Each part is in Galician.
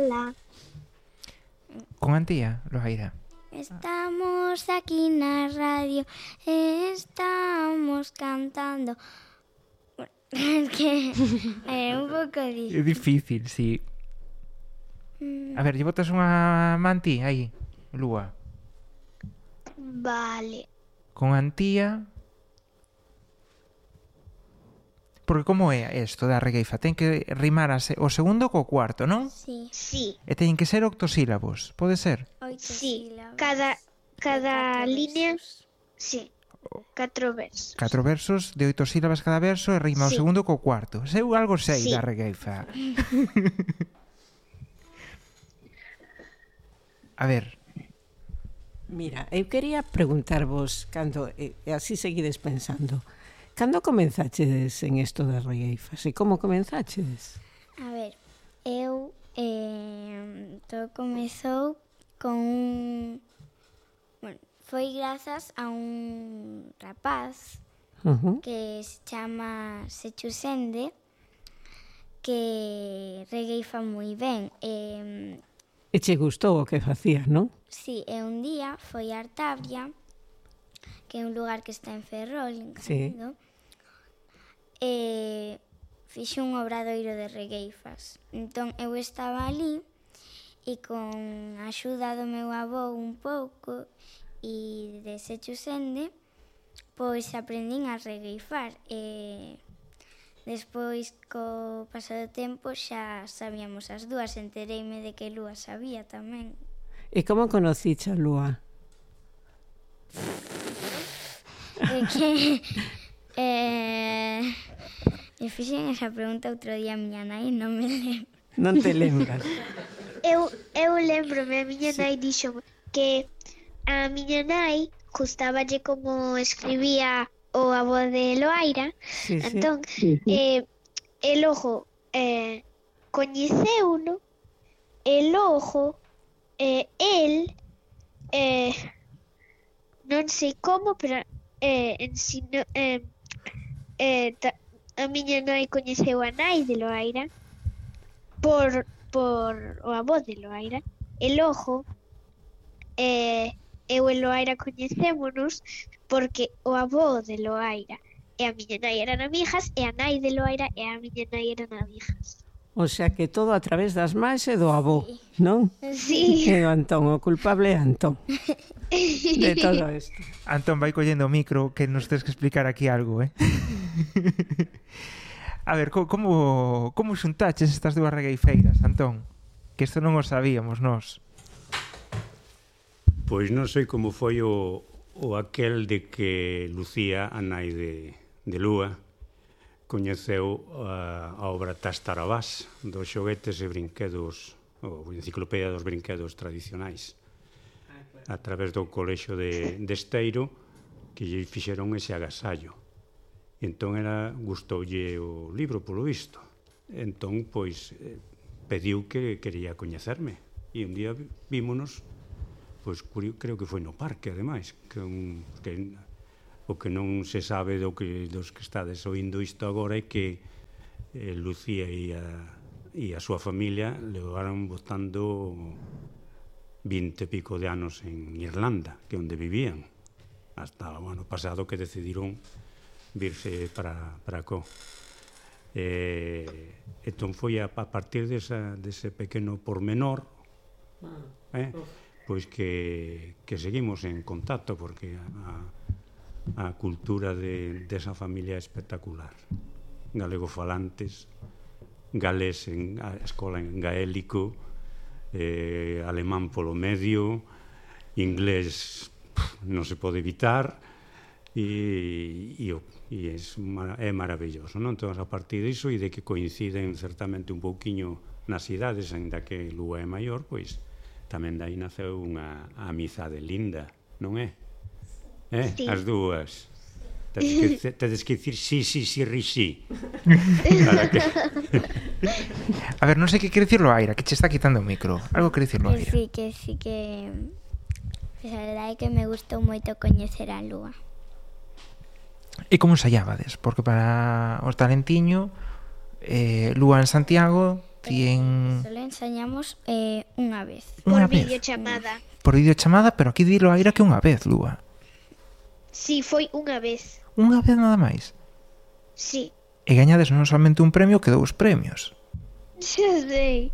Ojalá. Con Antía, Loaira? Estamos aquí na radio, estamos cantando. Es que é un pouco É difícil. difícil, sí. A ver, lle botas unha mantí aí, Lúa. Vale. Con Antía. Porque como é isto da regueifa? Ten que rimar o segundo co cuarto, non? Sí, Sí, E teñen que ser octosílabos, pode ser? 8 sí. sílabas. Cada de 4 línea, versos. sí. 4 versos. 4 versos de 8 sílabas cada verso e rima o Sí. segundo co cuarto. Eu algo sei Sí. da regueifa. A ver, Mira, eu quería preguntarvos cando, e así seguides pensando, cando comenzachedes en isto das regueifas e como comenzachedes? A ver, eu todo comezou con un... Bueno, foi grazas a un rapaz que se chama Sechu Sende, que regueifa moi ben. E che gustou o que facías, non? Sí, e un día foi a Artabria, que é un lugar que está en Ferrol, en Sí. Canido, e fixe un obradoiro de regueifas. Entón, eu estaba ali e con a axuda do meu avó un pouco e de Sechu Sende, pois aprendín a regueifar e despois, co paso do tempo, xa sabíamos as dúas. Entereime de que Lúa sabía tamén. E como conociche a Lúa? É que me fixen esa pregunta outro día a miña nai, non me lembro. Non te lembras? Eu lembrome, a miña nai dixo que a miña nai gustaballe como escribía o avó de Loaira. Sí, sí. Entón, e logo coñeceuno, e logo el non sei como, pero ensino, a miña nai coñeceu a nai de Loaira por o avó de Loaira, e logo eu e Loaira coñecémonos porque o avó de Loaira e a miña nai eran amigas e a nai de Loaira e a miña nai eran amigas. O sea que todo a través das máis e do avó, non? Sí. E do Antón, o culpable é Antón de todo isto. Antón vai collendo o micro que nos tens que explicar aquí algo, A ver, como xuntaches estas dúas regueifeiras, Antón? Que isto non o sabíamos nós. Pois non sei como foi o aquel de que Lucía, a nai de Lúa, coñeceu a obra Tastarabás dos xoguetes e brinquedos, ou enciclopedia dos brinquedos tradicionais, a través do colexio de Esteiro, que lle fixeron ese agasallo. Entón gustoulle o libro, polo visto. Entón, pois, pediu que quería coñecerme. E un día vímonos, pois, creo que foi no parque, ademais, que o que non se sabe dos que estades oindo isto agora é que Lucía e a súa familia levaron botando 20 e pico de anos en Irlanda, que é onde vivían, hasta o ano pasado que decidiron virse para co. Entón foi a partir dese pequeno pormenor pois que seguimos en contacto, porque a cultura desa familia é espectacular. Galegofalantes, galés a escola en gaélico, alemán polo medio, inglés non se pode evitar, e é maravilloso, non? Entón, a partir disso e de que coinciden certamente un pouquiño nas idades, ainda que Lúa é maior, pois tamén dai naceu unha amizade linda, non é? Sí. As dúas. Tedes que dicir sí, ri. A ver, non sei que quere dicir Loaira, que che está quitando o micro. Algo quere dicir Loaira. Que sí que a verdade é que me gustou moito coñecer a Lúa. E como ensaiábades? Porque para o talentiño, Lúa en Santiago, Ti en... Solo ensañamos unha vez. Unha Por vez. videochamada. Por videochamada, pero aquí dilo aira que unha vez, Lúa. Sí, foi unha vez. Unha vez nada máis. Sí. E gañades non somente un premio, que 2 premios. Xa sei.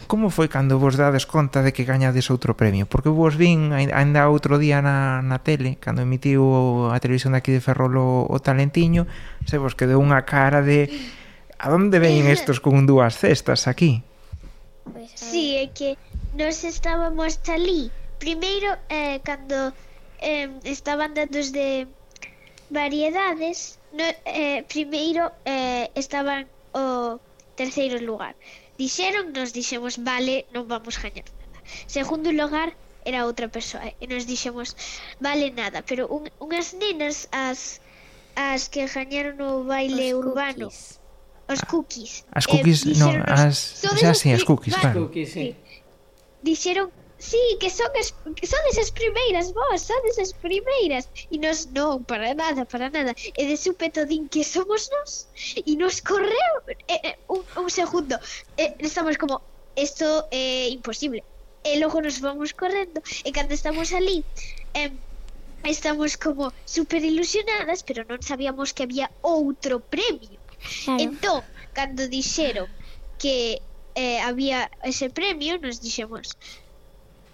Como foi cando vos dades conta de que gañades outro premio? Porque vos vin ainda outro día na tele, cando emitiu a televisión daqui de Ferrol o Talentiño, se vos quedou unha cara de... A onde veñen estos con 2 cestas aquí? Pois, Sí, é que nos estábamos ali. Primeiro, cando estaban dando os de variedades, primeiro estaban o terceiro lugar. Nos dixemos, vale, non vamos gañar nada. Segundo lugar era outra persoa e nos dixemos, vale nada, pero unhas nenas as que gañaron o baile urbano, os cookies. As cookies, non, díxeronos, xa sí, as cookies, claro. Cookies, sí. Dixeron, sí, que sodes as primeiras, vos, sodes as primeiras. E nos, non, para nada. E de súpeto din que somos nós. E nos correu un segundo. Estamos como, esto é imposible. E logo nos vamos correndo. E cando estamos ali, estamos como super ilusionadas, pero non sabíamos que había outro premio. Claro. Entón, cando dixeron que había ese premio, nos dixemos,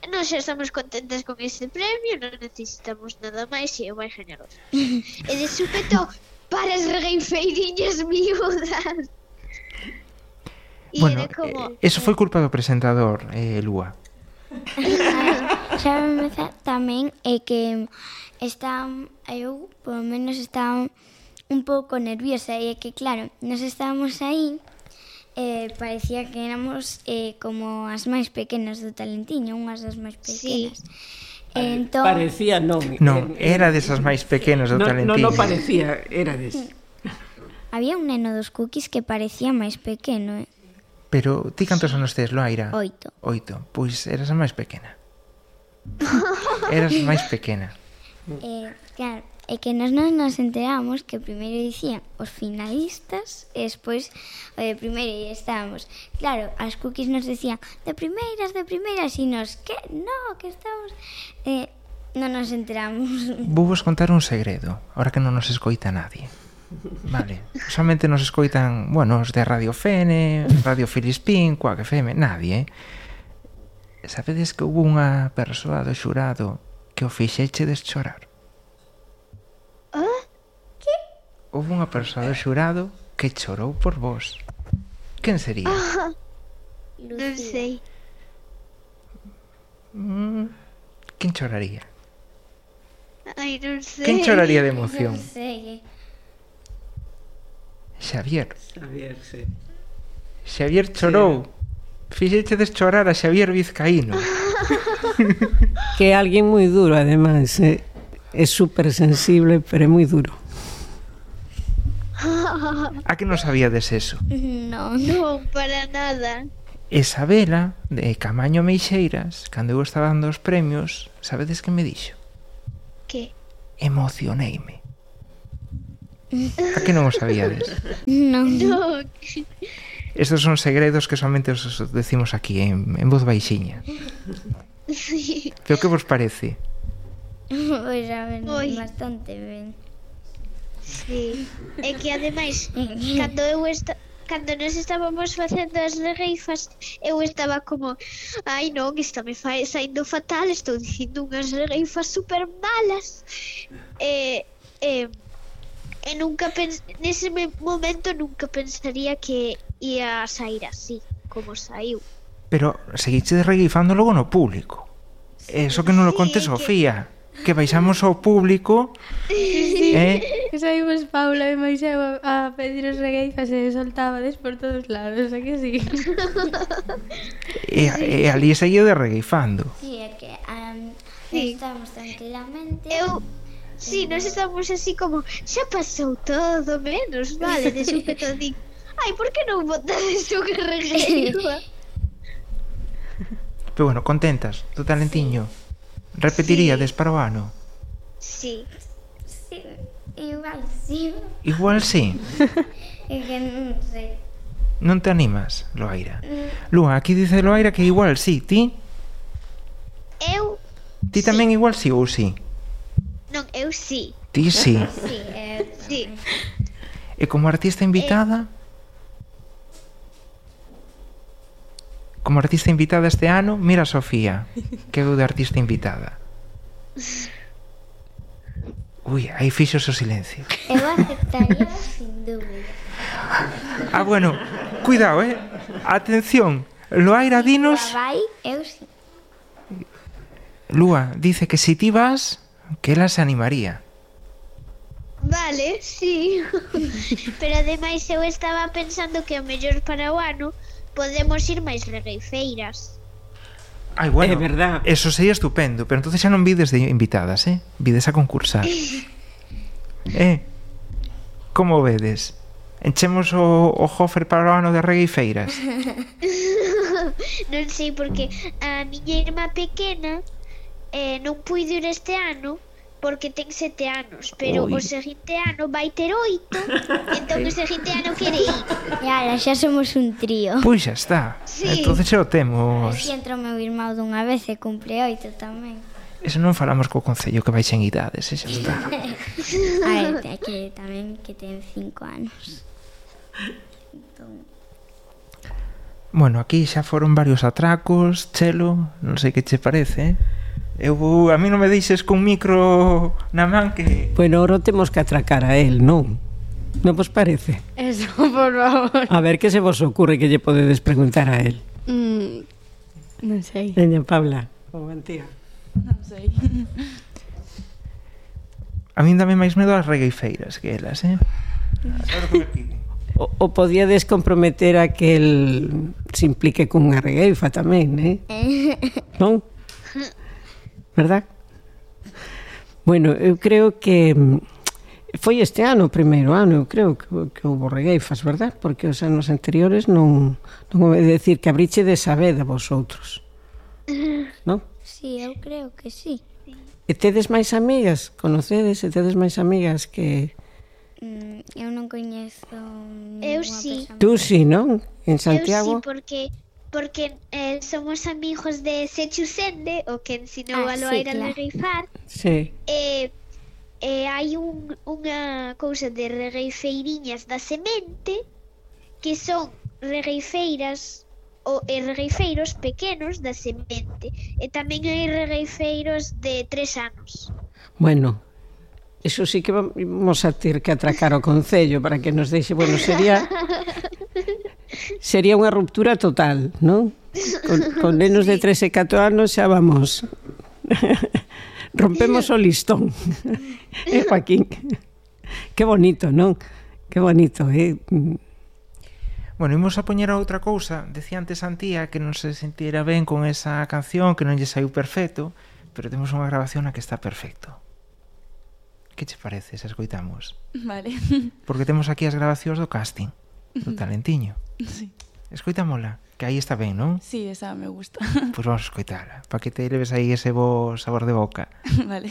nós xa estamos contentas con ese premio, non necesitamos nada máis e eu vai gañar outro. E de súpeto, para as regueifeiriñas miúdas. E Bueno, era como... eso foi culpa do presentador, Lúa. Xa me tamén é que eu, polo menos, estaba un pouco nerviosa e é que, claro, nos estábamos aí parecía que éramos como as máis pequenas do Talentiño, unhas das máis pequenas. Entón, Parecía, non. Non, era desas máis pequenas do Talentiño. Non parecía, era des. había un neno dos cookies que parecía máis pequeno, Pero ti cantos anos tes, Loaira? 8. 8. Pois eras a máis pequena. Eras máis pequena. Claro, é que nos non nos enteramos que primeiro dicían os finalistas e despois o de primeiro e estábamos. Claro, as cookies nos decían de primeiras e nos, que? No, que estamos... non nos enteramos. Vou vos contar un segredo, ahora que non nos escoita nadie. Vale, solamente nos escoitan, bueno, os de Radio Fene, Radio Filispín, Cuac FM, nadie, Sabedes que houve unha persoa do xurado que o fixeche chorar? Houve unha persoa do xurado que chorou por vos. Quen sería? Non sei. Quen choraría? Ai, non sei. Quen choraría de emoción? Non sei. Xavier. Xavier, sí. Xavier chorou. Fixeche chorar a Xavier Vizcaíno. Que é alguén moi duro, ademais. É super sensible, pero é moi duro. A que non sabíades eso? Non. Non, para nada. Isabela, de Camaño Meixeiras, cando eu estaba dando os premios, sabedes que me dixo? Que? Emocioneime. A que non o sabíades? Non. Non. Estos son segredos que solamente os decimos aquí en voz baixiña. Sí. Pero que vos parece? Pois a ver, Oi. bastante ben. Sí. É que ademais, cando nos estábamos facendo as regueifas, eu estaba como, ai non, isto me fai saindo fatal, estou dicindo unhas regueifas super malas. E nunca nese momento nunca pensaría que ia sair así, como saiu. Pero seguiche regueifando logo no público. Eso que non lo conte Sí, Sofía. Que baixamos ao público Que saímos Paula e Moiseu a pedir os regueifas e soltábades por todos lados, a que sí? e ali seguía de regueifando. Sí, é que Sí. estamos tranquilamente. Sí, nos estamos así como, xa pasou todo, menos vale, de súpeto digo, ai, por que non botades unha regueifa? Pero bueno, contentas do Talentiño. Repetiríades para o ano? Sí. Sí, igual sí. Igual sí. É que non sei. Non te animas, Loaira? Lúa, aquí dice Loaira que igual sí, ti? Eu, Ti tamén igual sí ou sí? non, eu sí. Ti sí. Sí, Sí. E como artista invitada? Como artista invitada este ano, mira a Sofía, que veu de artista invitada. Ui, aí fixos o silencio. eu aceptaría sin dúbida. Bueno, cuidado, atención, Loaira, dinos... Vai, eu sí. Lúa, dice que si ti vas, que ela se animaría. Vale, sí. Pero ademais eu estaba pensando que o mellor para o ano podemos ir máis regueifeiras. Ai, bueno, É verdad. eso sería estupendo, pero entonces xa non vides de invitadas, vides a concursar. Como vedes? Enchemos o hofer para o ano de regueifeiras? Non sei porque a miña irmá pequena non puido ir este ano porque ten 7 anos, pero o seguinte ano vai ter 8, entón o seguinte ano quere ir. E ala, xa somos un trío. Pois xa está. Sí. Entonces xa o temos. Así entra o meu irmão dunha vez e cumpre 8 tamén. Eso non falamos co Concello que vai en idades, xa está. A ver, é que tamén que ten 5 anos. Entón, Bueno, aquí xa foron varios atracos, Chelo, non sei que che parece, a mí non me deixes con micro na man que... Bueno, ahora temos que atracar a él, non? Non vos parece? Eso, por favor. A ver, que se vos ocurre que lle podedes preguntar a él? Non sei. Veña, Paula, como mentira. Non sei. A min dame máis medo as regueifeiras que elas, Sabe o que me pide? O podíades comprometer a que el se implique cunha regueifa tamén, non? Verdad? Bueno, eu creo que foi este ano, o primeiro ano, eu creo que houve regueifas, verdad? Porque os anos anteriores non vou decir que abriche de saber a vosotros. Non? sí, eu creo que sí. E tedes máis amigas? Conocedes e tedes máis amigas que... Eu non coñezo Eu ninguna sí. persoa. Tú sí, non? En Eu sí, Santiago? porque somos amigos de Sechusende, o que ensinou a Sí, Loaira a claro. regueifar. Sí. Hai unha cousa de regueifeiriñas da semente que son regueifeiras e regueifeiros pequenos da semente, e tamén hai regueifeiros de 3 anos. Bueno, eso sí que vamos a ter que atracar o Concello para que nos deixe, bueno, sería unha ruptura total, non? Con nenos de 3 e 4 anos xa vamos. Rompemos o listón. Joaquín. Que bonito, non? Que bonito, Bueno, imos a poñer a outra cousa. Decía antes Antía que non se sentira ben con esa canción, que non lle saiu perfecto, pero temos unha grabación na que está perfecto. Que che parece se escoitamos? Vale. Porque temos aquí as grabacións do casting, do talentiño. Sí. Escoitámola, que aí está ben, non? Sí, esa me gusta. Pois vamos a escoitala, para que te leves aí ese bo sabor de boca. Vale.